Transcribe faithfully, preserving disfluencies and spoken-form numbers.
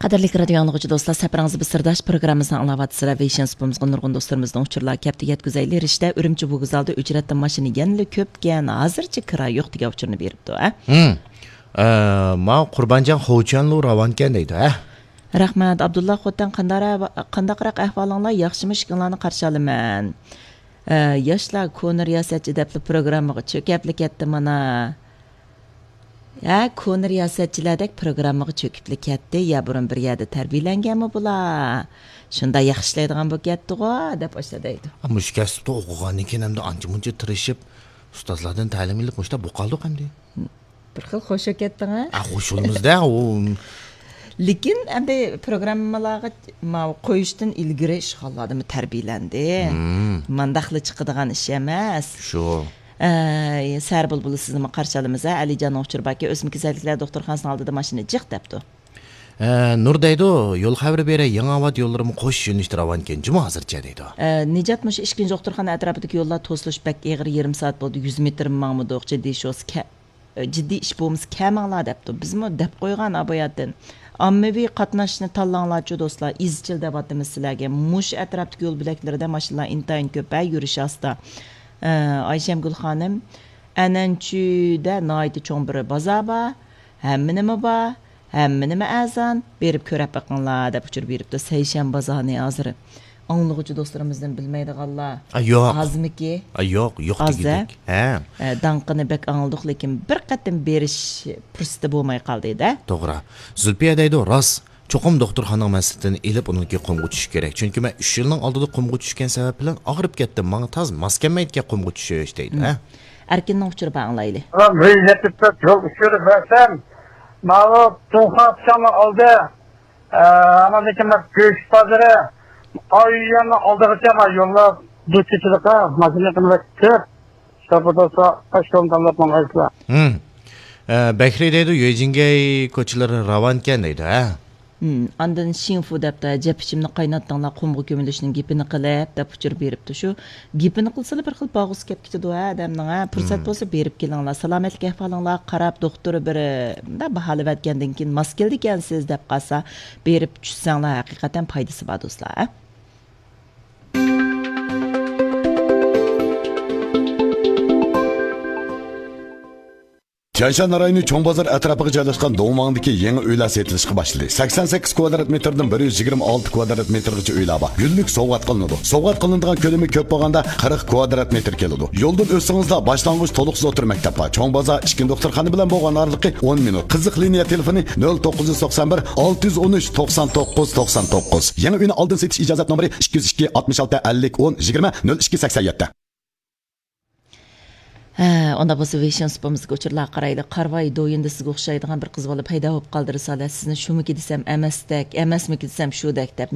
قەدىرلىك رادىيو ئاڭلىغۇچى دوستلار، سەپىرىڭىزدە بىر سىرداش پروگراممىسىنى ئاڭلاۋاتىسىلەر. ۋېيشىن سۇپىمىزغا نۇرغۇن دوستلىرىمىزدىن ئۇچۇرلار كەپتۇ. يەتكۈزەيلى، رىشتە ئۈرۈمچى ۋوگزالدا ئۆچرەتتىن ماشىنا يەنىلا كۆپكەن، ھازىرچە كىرا يوق دېگەن ئۇچۇرنى بېرىپتۇ، ھە؟ ھىم. ئە، ماۋۇ قۇربانجان خوچيەنلۇ راۋانكەن دەيدۇ، ھە؟ رەھمەت. ئابدۇللا خوتەن، قانداقرا-، قانداقراق ئەھۋالىڭلار؟ ياخشىمۇ؟ ئىككىڭلارنى قارشى ئالىمەن. ئە، ياشلار كونا رىياسەتچى دەپلا پروگراممىغا چۆكەپلا كەتتى مانا. ھە، كونا رىياسەتچىلەردەك پروگراممىغا چۆكۈپلا كەتتى. يا بۇرۇن بىر يەردە تەربىيەلەنگەنمۇ بۇلار؟ شۇنداق ياخشى ئىشلەيدىغان بولۇپ كەتتىغۇ، دەپ ئاشۇنداق دەيدۇ. ئا، مۇشۇ كەسىپتە ئوقۇغاندىن كېيىن ئەمدى ئانچە-مۇنچە تىرىشىپ، ئۇستازلاردىن تەلىم ئېلىپ، مۇشۇنداق بولۇپ قالدۇق ئەمدى. بىر خىل خوش بولۇپ كەتتىڭ، ھە؟ ئا، خوش بولىمىز-دە، ئۇ. لېكىن ئەمدى پروگراممىلارغا ماۋۇ قويۇشتىن ئىلگىرى ئىشخانىلاردىمۇ تەربىيەلەندى. مم. مانداقلا چىقىدىغان ئىش ئەمەس. شۇ. ئە، سەھەر بۇلبۇلى سىزنىمۇ قارشى ئالىمىز، ھە؟ ئەلىجاننىڭ ئۇچۇرى باركەن، ئۆسمە كېسەللىكلەر دوختۇرخانىسىنىڭ ئالدىدا ماشىنا جىق دەپتۇ. ئە، نۇر دەيدۇ، يول خەۋىرى بېرەي، يېڭىئاۋات يوللىرىمۇ قوش يۆنىلىشتە راۋانكەن، جۇمۇ ھازىرچە دەيدۇ. ئە، نىجات، مۇشۇ ئىككىنچى دوختۇرخانا ئەتراپىدىكى يوللار توسۇلۇش بەك ئېغىر، يېرىم سائەت بولدى، يۈز مېتىرمۇ ماڭمىدۇق، جىددىي شوس كە-، جىددىي ئىش بولمىسا كەلمەڭلار دەپتۇ. بىزمۇ دەپ قويغان ئاباياتتىن. ئاممىۋى قاتناشنى تاللاڭلارچۇ دوستلار، ئىزچىل دەۋاتىمىز سىلەرگە. مۇشۇ ئەتراپتىكى يول بۆلەكلىرىدە ماشىنىلار ئىنتايىن كۆپ، ھە، يۈرۈش ئاستا. ئە، ئايشەمگۈل خانىم، ئەنئەنچۈدە ناھايىتى چوڭ بىر بازار بار، ھەممە نېمە بار، ھەممە نېمە ئەرزان، بېرىپ كۆرۈپ بېقىڭلار دەپ ئۇچۇر بېرىپتۇ. سەيشەنبە بازارنى ھازىر ئاڭلىغۇچى دوستلىرىمىزدىن بىلمەيدىغانلار ئا، يوق. ئازمىكى؟ ئا، يوق، يوق ئاز-دە. دېگۈدەك. ھە. ئە، داڭقىنى بەك ئاڭلىدۇق، لېكىن بىر قېتىم بېرىش پۇرسىتى بولماي قالدى-دە. توغرا. زۇلپىيە دەيدۇ، راست. چوقۇم دوختۇرخانىنىڭ مەسلىھىتىنى ئېلىپ، ئۇنىڭكى قۇمغا چۈشۈش كېرەك. چۈنكى مەن ئۈچ يىلنىڭ ئالدىدا قۇمغا چۈشكەن سەۋەب بىلەن ئاغرىپ كەتتىم. ماڭا تاز ماس كەلمەيدىكەن قۇمغا چۈشۈش دەيدۇ، ھە؟ ئەركىننىڭ ئۇچۇرى بار، ئاڭلايلى. بىر يەتتە تۆت يول ئۇچۇرى بەرسەم، ماۋۇ تۇڭخۇا پىچاقنىڭ ئالدى، ئە، ئاندىن كېيىن گۆش بازىرى، ئايياننىڭ ئالدىغىچە ما يوللار دۇچ كېچىلىقى، ماشىنا قىلىۋەتتى. شۇ بولسا، ئاشۇ تاللاپ ماڭايسىلەر. ھىم. ئە، بەكرى دەيدۇ، يۆجىڭگەي كوچىلىرى راۋانكەن دەيدۇ، ھە؟ ھىم، ئاندىن شىڭفۇ دەپتۇ، جەپ ئىچىمنى قايناتتىڭلار، قۇمغا كۆمۈلۈشنىڭ گېپىنى قىلىپ، دەپ ئۇچۇر بېرىپتۇ. شۇ گېپىنى قىلسىلا بىر خىل باغۇسى كەپ كېتىدۇ، ھە، ئادەمنىڭ، ھە. پۇرسەت ھىم. بولسا بېرىپ كېلىڭلار. سالامەتلىك ئەھۋالىڭلارغا قاراپ، دوختۇر بىر، مۇنداق باھالىۋەتكەندىن كېيىن ماس كېلىدىكەنسىز دەپ قالسا، بېرىپ چۈشسەڭلار، ھەقىقەتەن پايدىسى بار، دوستلار، ھە. تيەنشان رايونى چوڭ بازار ئەتراپىغا جايلاشقان دۇڭۋاڭدىكى يېڭى ئۆيلەر سېتىلىشقا باشلىدى. سەكسەن سەككىز كۋادرات مېتىردىن بىر يۈز يىگىرمە ئالتە كۋادرات مېتىرغىچە ئۆيلەر بار. گۈللۈك سوۋغات قىلىنىدۇ. سوۋغات قىلىنىدىغان كۆلىمى كۆپ بولغاندا قىرىق كۋادرات مېتىر كېلىدۇ. يولدىن ئۆتسىڭىزلا باشلانغۇچ تولۇقسىز ئوتتۇرا مەكتەپ بار. چوڭ بازار ئىككىنچى دوختۇرخانا بىلەن بولغان ئارىلىقى ئون مىنۇت. قىزىق لىنىيە تېلېفونى نۆل توققۇز يۈز توقسان بىر، ئالتە يۈز ئون ئۈچ، توقسان توققۇز، توقسان توققۇز. يېڭى ئۆينى ئالدىن سېتىش ئىجازەتنامىسى ئىككى يۈز ئىككى، ئاتمىش ئالتە، ئەللىك، ئون، يىگىرمە، نۆل ئىككى، سەكسەن يەتتە. ھە، ئۇنداق بولسا ۋېيشىن سۇپىمىزدىكى ئۇچۇرلارغا قارايلى. قارىۋاي، دويىندا سىزگە ئوخشايدىغان بىر قىز بالا پەيدا بولۇپ قالدى، رىسالە. سىزنى شۇمىكى دېسەم ئەمەستەك، ئەمەسمىكى دېسەم شۇدەك دەپ.